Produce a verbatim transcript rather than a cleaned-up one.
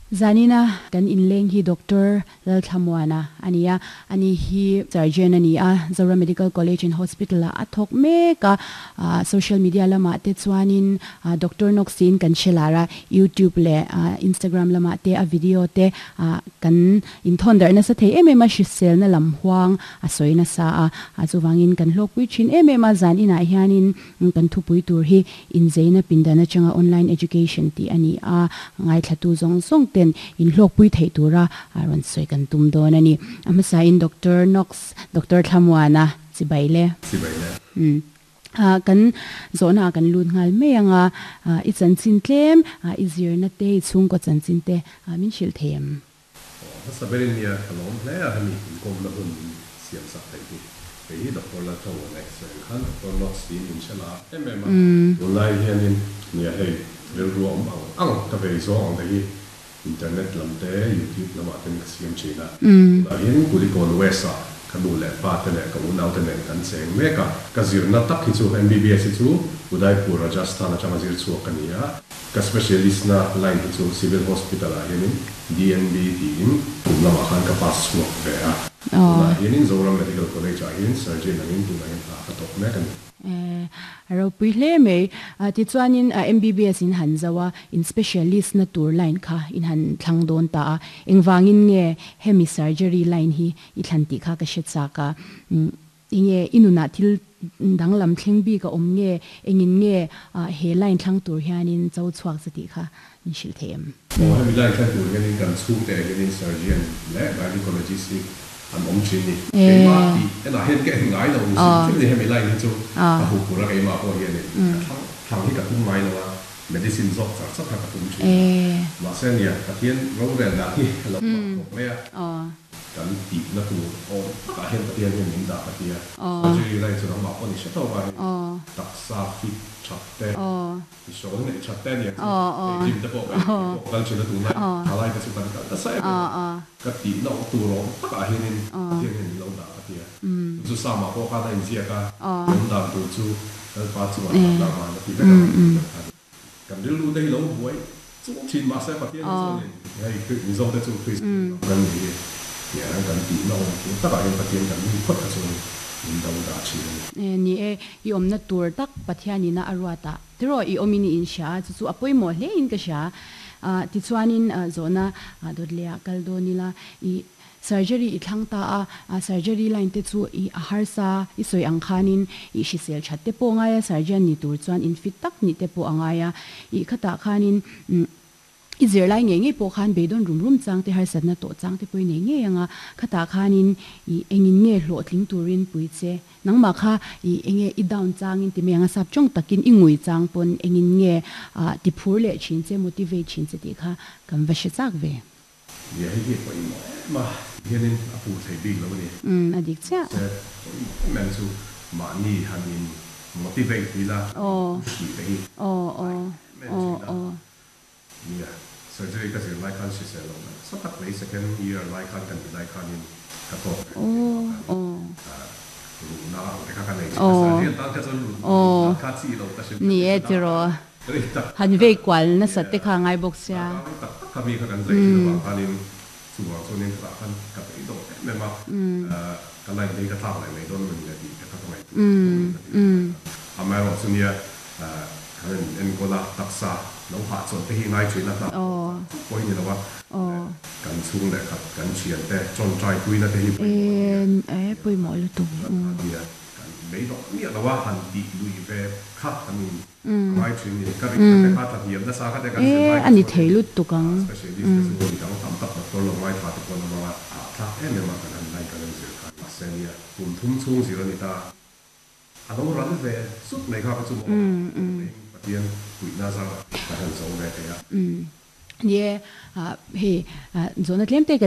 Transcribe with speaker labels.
Speaker 1: Zanina kan inleng hi Doctor Lalthlamuana a ni a, ani hi surgeon a ni a, Zoram Medical College and Hospital ah a thawk mek a, social media lamah te chuanin Doctor Knox tiin kan hre lar a, YouTube leh Instagram lamah te a video te kan inthawn darh nasa thei em em a, hriselna lam huang a sawi nasa a, chuvangin kan hlawkpui thin em em a, zan inah hianin kan thupui tur hi inzeina pindan atanga online education tih a ni a, ngaithlatu zawng zawng ten inhlawkpui theih tura rawn sawi kan tum dawn a ni. A hmasain Doctor Knox, Doctor Thlamuana chibai le.
Speaker 2: Chibai le.
Speaker 1: Umm. Kan zawhna ah kan lut nghal mai ang a, i chanchin tlem, i zirna te, i chhungkaw chanchin te min hrilh thei em?
Speaker 2: Aw, hmasa berin nia ka lawm hle a, hemi inkawmna hun min siam sak theih hi. Kei hi Doctor Lalthamuana sawi ang khan Doctor Knox tiin min hre la em em a, tunlai hianin nia hei rilru a awm ang ang ka vei zawng ang te hi internet lam te YouTube lamah ten ka siam thin a, tunah hian Kulikawn West ah ka nu leh pa te leh ka unau te nen kan cheng mek a, ka zirna tak hi chu M B B S hi chu Udaipur Rajasthan atanga zir chhuak ka ni a, ka specialist na line hi chu Civil Hospital ah hianin D N B tiin kum lamah khan ka pass chhuak ve a, tunah hianin Zoram Medical College ah hian surgeon angin tunah hian hna ka thawk mek a ni.
Speaker 1: A ropui hle mai. Tichuanin M B B S in han zo a, in specialist na tur line kha in han thlang dawn ta a. Engvangin nge hemi surgery line hi i thlan tih kha ka hre chak a. Enge i nunah thil danglam thleng bik a awm nge, engin nge he line thlang tur hianin cho chhuak che tih kha min hrilh thei em?
Speaker 2: Aw, hemi line thlang tur hianin kan chhungte hianin surgeon leh gynecologist hi an awm thin ni. Keimah tih enah hian ka en ngai lo hrim hrim ni, hemi line hi chu ka huh pur a, keimah pawh hianin ka thlang thlang hi ka tum ngai lo a, medicine zawk char char kha ka tum thin a. Mahse nia, Pathian rorel dan hi a lo mak khawp mai a, kan tihna tur awm takah hian Pathian hian min dah ka ti a. Surgery line chu nangmah pawh ni hre tawk a, hei taksa fit that te, I hrawl neih that te ania chu, hei gym te pawh ka pawh kal thin a tunlai thalai te chu kan kal nasa em em a, ka tihna awm tur awm takah hianin Pathian hian min lo dah ka ti a, chu chu Sama pawh khan a inziak a, awm dan tur chu Lalpa chungah that lah van a ti vek ang tih vek kha a ni. Kan rilru te hi lo buai chung thin mahse Pathian hi chuanin hei Mizo te chu Kristian ram kan ni hi tiang kan tihna awm tur takah hian Pathian kan rin phawt kha chuan min do dah thin a ni.
Speaker 1: Ni e, i awmna tur tak Pathianina a ruat a, tiraw i awmin i inhria a, chu chu a pawimawh hle in ka hria. Tichuanin zawhna dawt leh ah kal dawn ila, i surgery i thlang ta a, surgery line te chu i a harsa i sawi ang khanin i hrisel that te pawh a ngai a, surgeon ni tur chuan in fit tak nih te pawh a ngai a, i khatah khanin I zirlai ngei ngei pawh khan beidawn rum rum chang te, harsatna tawh chang te pawh i nei ngei ang a, khatah khanin i engin nge hlawhtling turin pui che, nangmah kha i enge i down changin ti mai ang a, sap tawng takin i ngui chang pawn engin nge ti phur leh thin che, motivate thin che tih kha kan va hre chak ve.
Speaker 2: Nia hei hi a pawimawh em a, hianin a pur thei bik lo a ni.
Speaker 1: Umm a dik chiah.
Speaker 2: Mahse pawimawh em em chu mahni han in motivate ila, push nih te hi a em em thin a. Nia, surgery ka zir lai khan hrisel lo nasa tak mai, second year lai khan ka nih lai khanin ka tawk ve thin a, khanin ruhna ang te kha ka nei thin a, surgery an tan kha chuan ruhna kha chi lo ka hrim
Speaker 1: Ni e tiraw, han vei kual nasa te kha ngai bawk sia.
Speaker 2: Darkar tak tak kha mi kha kan zai thin avang khanin chuvang chuanin ka tah khan ka bei dawh em em a, ka line te hi ka thlak leh mai dawn a ni le tih te kha ka ngaihtuah ve ka ti thin lai khan. Amaherawhchu nia, Kan in enkawl a, taksa lo hahchawlh te hi ngai thin a, hna pawh chak chak pawh hi ni lo a, kan chhung leh khat kan thian te tawngtai puina te hi pawimawh a nia,
Speaker 1: Pawimawh lutuk.
Speaker 2: Nia, kan beidawh miah lo a, han tih lui ve kha kan in ngai thin ni, ka rin kha te kha tla hniam nasa kha te kan zir lai kha chuanin specialist te chu midang tam tak doctor lo ngaithla te pawh an awm ang a, hahthlak em em a kan han line kan han zir khan, mahse nia kum thum chhung zir a ni ta. A lo ral ve zut mai kha ka chu maw Pathian puihna zar ka han zo ve thei a.
Speaker 1: Ni e, hei zawhna tlem te ka